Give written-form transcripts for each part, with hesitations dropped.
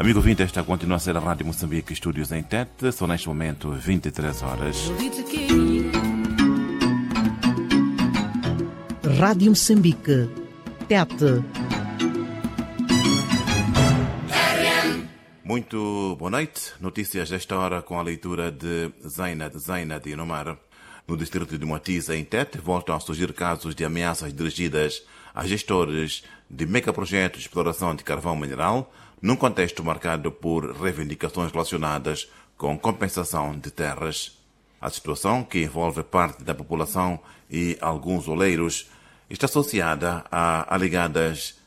Amigo ouvinte, esta continua a ser a Rádio Moçambique, estúdios em Tete, são neste momento 23 horas. Rádio Moçambique, Tete. Muito boa noite. Notícias desta hora com a leitura de Zaina Zaina de Inomar. No distrito de Moatize, em Tete, voltam a surgir casos de ameaças dirigidas a gestores de megaprojetos de exploração de carvão mineral, num contexto marcado por reivindicações relacionadas com compensação de terras. A situação, que envolve parte da população e alguns oleiros, está associada a alegadas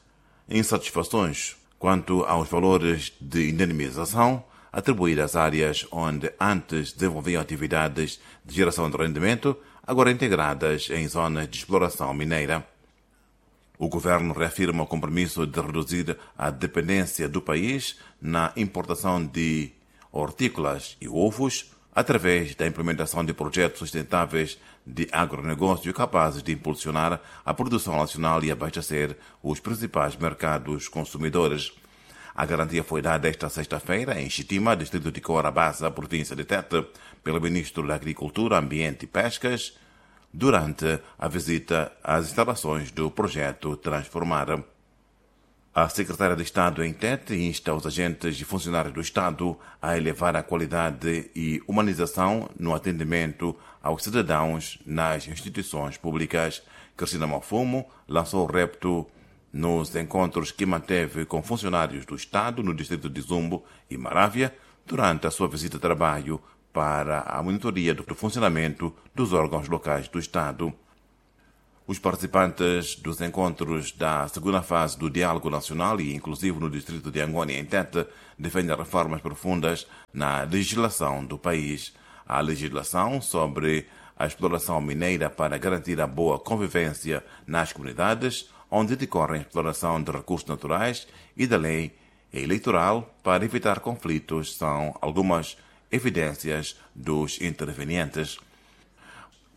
insatisfações quanto aos valores de indemnização atribuídas às áreas onde antes desenvolviam atividades de geração de rendimento, agora integradas em zonas de exploração mineira. O governo reafirma o compromisso de reduzir a dependência do país na importação de hortícolas e ovos através da implementação de projetos sustentáveis de agronegócio capazes de impulsionar a produção nacional e abastecer os principais mercados consumidores. A garantia foi dada esta sexta-feira em Chitima, distrito de Coarabassa, província de Tete, pelo ministro da Agricultura, Ambiente e Pescas, durante a visita às instalações do projeto Transformar. A secretária de Estado em Tete insta os agentes e funcionários do Estado a elevar a qualidade e humanização no atendimento aos cidadãos nas instituições públicas. Cristina Malfumo lançou o repto nos encontros que manteve com funcionários do Estado no distrito de Zumbo e Marávia durante a sua visita de trabalho para a monitoria do funcionamento dos órgãos locais do Estado. Os participantes dos encontros da segunda fase do Diálogo Nacional e inclusive no distrito de Angônia, em Tete, defendem reformas profundas na legislação do país. A legislação sobre a exploração mineira para garantir a boa convivência nas comunidades onde decorre a exploração de recursos naturais e da lei eleitoral para evitar conflitos são algumas evidências dos intervenientes.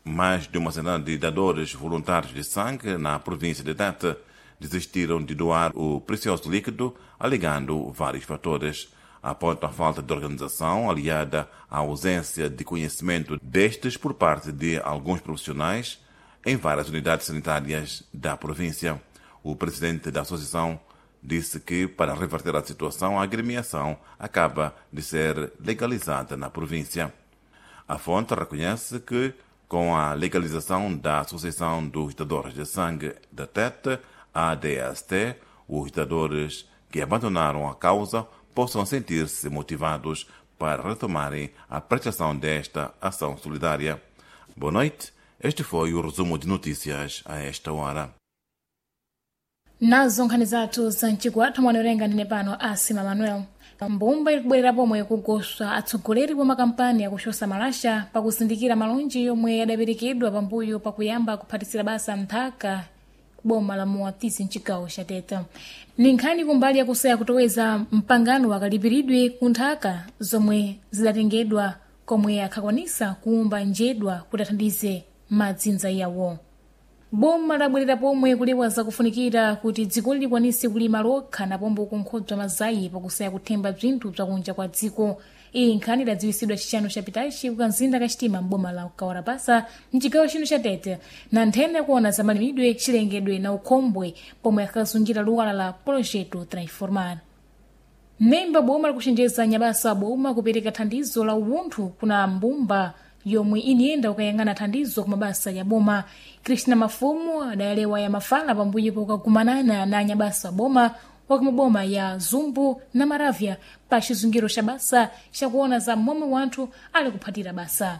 Mais de uma centena de dadores voluntários de sangue na província de Tete desistiram de doar o precioso líquido, alegando vários fatores. Apontam a falta de organização, aliada à ausência de conhecimento destes por parte de alguns profissionais em várias unidades sanitárias da província. O presidente da associação disse que, para reverter a situação, a agremiação acaba de ser legalizada na província. A fonte reconhece que, com a legalização da Associação dos Dadores de Sangue da Tete, ADST, os dadores que abandonaram a causa possam sentir-se motivados para retomarem a prestação desta ação solidária. Boa noite. Este foi o resumo de notícias a esta hora. Nazo nkhani zathu za mchigwathu mwanolenga ndine pano Asima Manuel. Mbumba ikubwerera pomwe kugoswa atsogoleri wa makampani akuchosa malasha pakuzindikira malonji yomwe adaperekedwa pambuyo pakuyamba kuphatisira basa nthaka boma la Moatize mchigawo cha Tete. Ni nkhani kumbali yakusaya kutoweza mpangano wakalipiridwe ku nthaka zomwe zidatengedwa komwe akhakwanisa kuwumba njedwa kuti athandize madzinza yawo. Boma labwerera pomwe kulewa zakufunikira kuti dzikoli likwanise kulima lokha napombo kunkhodzwa mazayi pakusaya kuthemba bzinthu bzakunja kwa dziko. Iyi nkhani idadziwisidwa chixanu chapitachi kukanzinda kachitima m'boma la Kawarabasa mchigawo chino cha Tete na nthenda yakuona za malimidwe, chilengedwe na ukhombwe pomwe akazungira luwala la Projeto Transformar. Memba boma likuchenjeza nyabasa boma kupereka thandizo la uwunthu kuna mbumba yomwe iniyenda kukayang'ana thandizo ku mabasa ya boma. Krishna Mafumu adayalewa ya mafala pambuyo pokagumanana na anyabasa boma wakumaboma ya Zumbu na Maravya pa chizungiro cha basa chakuona za momwe wanthu ali kuphatira basa.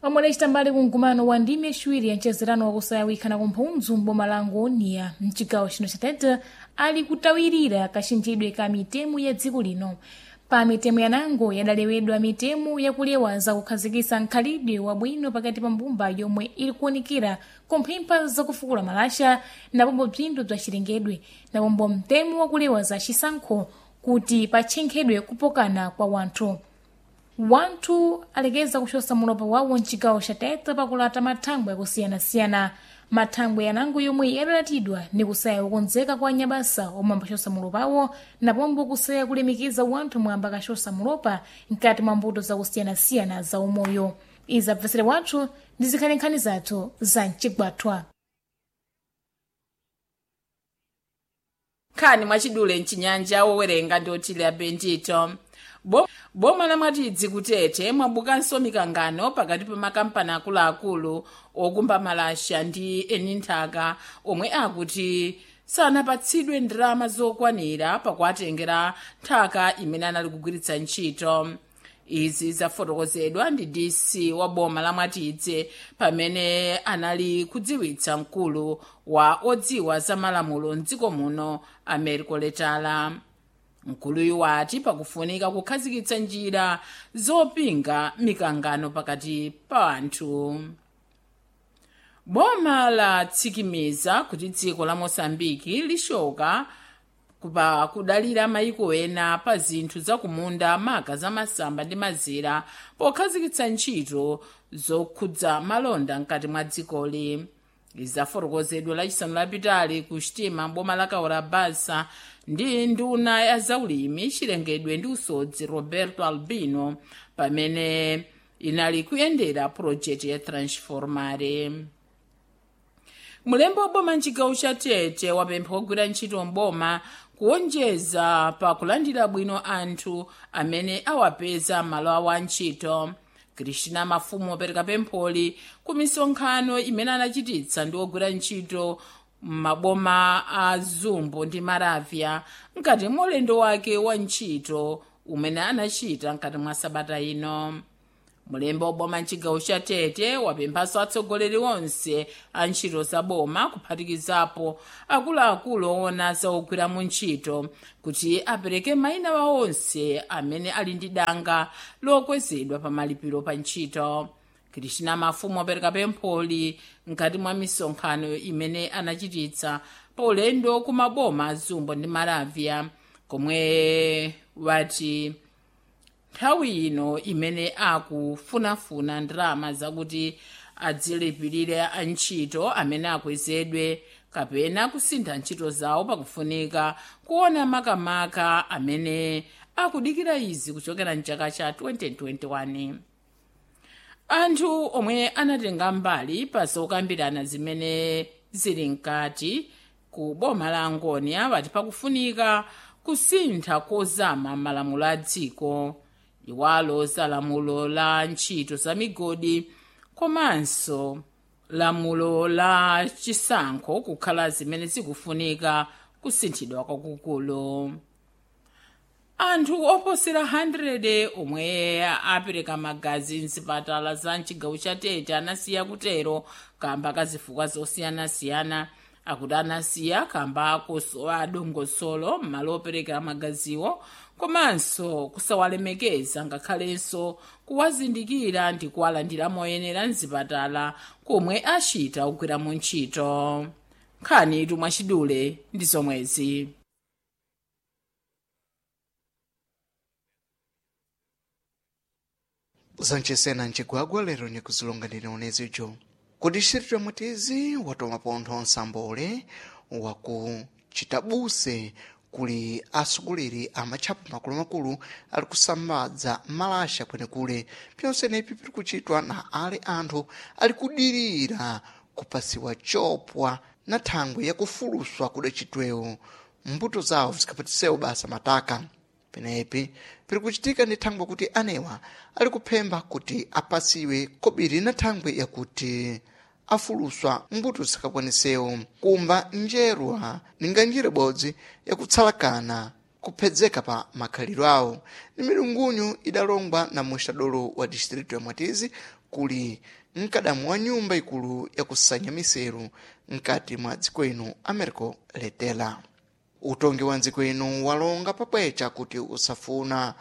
Omwe adacita mbali ku mkumano wa ndime yaciwiri ya mchezerano wakusayawikana kumphunzu m'boma la Angônia mchigawo chino cha Tete ali kutawirira kachinjidwe ka mitemo ya dziko lino. Pa mitemo yanango yadalewedwa mitemo yakulewa zakukhazikitsa nkhalidwe wabwino pakati pa mbumba yomwe ili kuonekera kumphempha zakufukula malasha napombo bzinthu bza chilengedwe napombo mtemo wakulewa za chisankho kuti patchenkhedwe kupokana kwa wanthu. Wanthu alekeza kuchosa mulopa wawo mchigawo cha Tete pakulata mathangwe akusiyana-siyana. Mathangwe yanango yomwe yadalatidwa ni kusaya kukonzeka kwa anyabasa omwe ambachosa mulopawo napombo kusaya kulemikiza wanthu omwe ambakachosa mulopa mkati mwa mbuto zakusiyanasiyana za umoyo. Izi abvesere wathu ndi zikhale nkhani zathu za mcigwathwa. Nkhani mwachidule mchinyanja, wowerenga ndi Otilia Bendito. Boma la Mwatidzi kutete mwabukanso mikangano pakati pa makampani akuluakulu okumba malasha ndi eni nthaka omwe akuti sanapatsidwe ndalama zokwanira pakuwatengera nthaka imene anali kugwiritsa ntchito. Izi zafotokozedwa ndi DC wa boma la Mwatidzi pamene anali kudziwitsa mkulu wa odziwa za malamulo mdziko muno, Americo Letala. Mkuluyu wati pakufunika kukhazikitsa njira zopinga mikangano pakati pa anthu. Boma latsikimiza kuti dziko la Mosambiki lishoka pa kudalira mayiko ena pa zinthu zakumunda, maka za masamba ndi mazira, pokhazikitsa ntchito zokhudza malonda mkati mwa dzikoli. Izafotokozedwa lachisanu lapitali ku Xitima, boma la Kaurabasa, ndi nduna ya zaulimi, chilengedwe ndi usodzi, Roberto Albino, pamene inali kuyendera pulojekiti ya Transformare. Mulembo waboma mchigawo cha Tete wapempha ogwira ntchito mboma kuwonjeza pa kulandira bwino anthu amene awapeza malo awo a ntchito. Kristina Mafumu wapereka pempholi ku misonkhano imene anachititsa ndi ogwira ntchito m'maboma a Zumbo ndi Maravya mkati mwa ulendo wake wa ntchito umene anachita mkati mwa sabata ino. Mulembo waboma mchigawo cha Tete wapemphanso atsogoleri onse a ntchito za boma, kuphatikizapo akuluakulu owona za ogwira mu ntchito, kuti apereke mayina wa onse amene ali ndi danga lokwezedwa pa malipiro pa ntchito. Kristina Mafumu wapereka pempholi mkati mwa misonkhano imene anachititsa pa ulendo ku maboma a Zumbo ndi Maravya, komwe wati nthawi ino imene akufunafuna ndalama zakuti adzilipirire antchito amene akwezedwe kapena kusintha ntchito zawo, pakufunika kuona makamaka amene akudikira izi kuchokera mchaka cha 2021. Anthu omwe anatenga mbali pa zokambirana zimene zili mkati ku boma la Angonia vati pakufunika kusintha kozama malamulo a dziko, iwalo za lamulo la ntchito za migodi komanso lamulo la chisankho kukhala zimene zikufunika kusinthidwa kwakukulu. Anthu oposera 100 omwe apereka magazi mzipatala za mchigawo cha Tete anasiya kutero kamba kazifukwa zosiyanasiyana. Akuti anasiya kamba kosowa dongosolo m'malo opereka magaziwo komanso kusawalemekeza, ngakhalenso kuwazindikira ndi kuwalandira moyenera mzipatala komwe achita kugwiramo ntchito. Nkhani tumwachidule ndi zomwezi. Zancesena mcigwagwa lero nikuzilonganira unezijo ku distrito ya Mwatizi watoma pontho nsambole waku Citabuse kuli atsogoleri a matchapo makulumakulu ali kusambadza malasha kwenekule. Pyonsenepi piri kuchitwa na ale anthu ali kudirira kupasiwa chopwa na thangwe yakufuluswa kudacitwewo mbuto zawo zikapatisewo basa mataka. Penepi piri kuchitika ndi thangwe kuti anewa ali kuphemba kuti apasiwe kobiri na thangwe yakuti afuluswa mbuto zikakwanisewo kumba njerwa ninga njira ibodzi yakutsalakana kuphedzeka pa makhalidwe awo. Ni milungunyu idalongwa na muxadolo wa distrito ya Mwatizi kuli mkadamu wa nyumba ikulu yakusanya miseru mkati mwa dziko ino, Americo Letela. Utongi wa ndziko ino walonga pabwecha kuti usafuna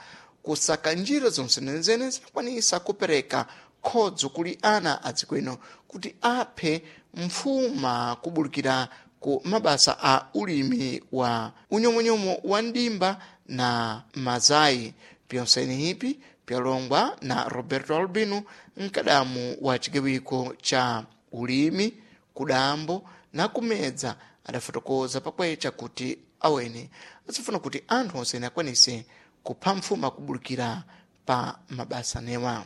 kusaka njira zonsenezene zinakwanisa kupereka khodzo kuli ana a dziko ino kuti aphe mfuma kubulukira ku mabasa a ulimi wa unyomonyomo wa ndimba na mazayi. Pyonseni ipi pyalongwa na Roberto Albino, mkadamu wa chigawiko cha ulimi. Kudambo na kumedza adafotokoza pakwecha kuti awene azifuna kuti anthu onsene akwanise kupha mfuma kubulukira pa mabasa newa.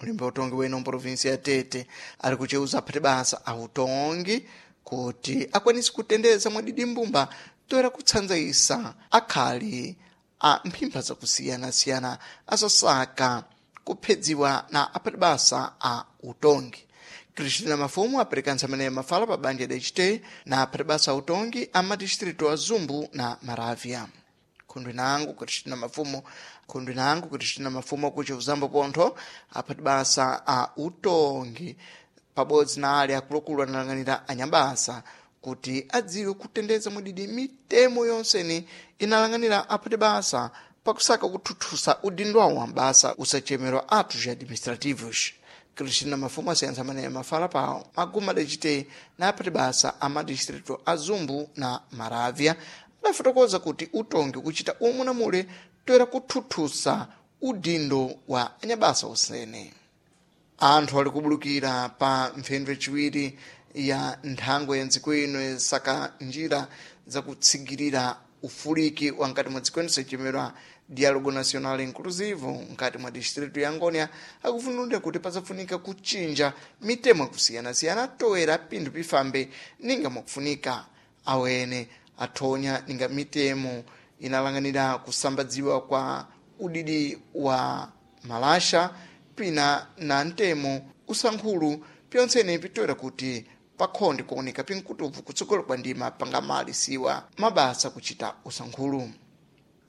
Mulembe wa utongi weno mprovinsi ya Tete ali kucheuza aphati basa a utongi kuti akwanise kutendeza mwadidi mbumba toera kutsanzaisa akhali a mphimpha zakusiyanasiyana azosaka kuphedziwa na aphati basa a utongi. Cristina Mafumu apereka ntsamene mafala pa banja dacite na aphati basa a utongi a madistritu a Zumbu na Maravya. Khundwe nangu Cristina Mafumu, khundwe nangu Cristina Mafumu akuti uzambo pontho aphati basa a utongi pabodzi na ali akuluakulu analang'anira anyabasa kuti adziwe kutendeza mwadidi mitemo yonseni inalang'anira aphati basa pakusaka kuthuthusa udindo wawo wa basa usachemerwa atos administrativos. Cristina Mafumu asiyantsa amene mafala pawo maguma adacite na aphati basa a madistritu a Zumbu na Maravya adafotokoza kuti utongi kuchita umu na mule toera kuthuthusa udindo wa anyabasa osene. Anthu ali kubulukira pa mphendwe yaciwiri ya nthango ya ndziko ino yasaka njira zakutsigirira ufuliki wa nkati mwa dziko ino sachemerwa Diálogo Nacional Inclusivo nkati mwa distritu ya Angônia akufunulira kuti pazafunika kuchinja mitemo yakusiyanasiyana toera pinthu pifambe ninga mwakufunika. Awene athonya ninga mitemo inalang'anira kusambadziwa kwa udidi wa malasha pina na ntemo usankhulu pyontsene pitoera kuti pakhonde kuoneka pinkutuvu kutsogolo kwa ndima pangamalisiwa mabasa kuchita usankhulu.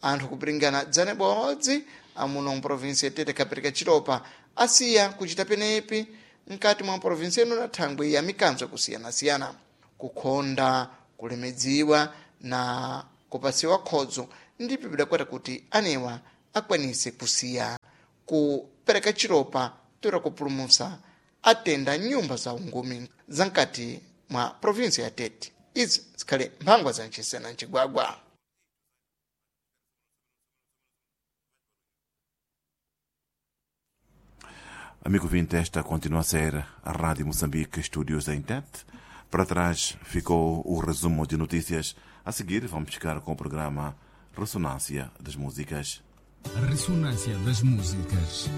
Anthu kupiringana dzana ibodzi amuno mprovinsi ya Tete kapereka chilopa asiya kuchita penepi mkati mwa provinsi ino na thangwi ya mikanzo yakusiyanasiyana kukhonda kulemedziwa na kupasiwa khodzo ndipo pidakwata kuti anewa akwanise kusiya kupereka chilopa toera kupulumusa atenda nyumba za ungumi za mkati mwa provinsi ya Tete. Izi zikhale mphangwa za nchisena ncigwagwa. Amigo vinte, esta continua a ser a Rádio Moçambique, estúdios da Intet. Para trás ficou o resumo de notícias. A seguir, vamos ficar com o programa Ressonância das Músicas. Ressonância das Músicas.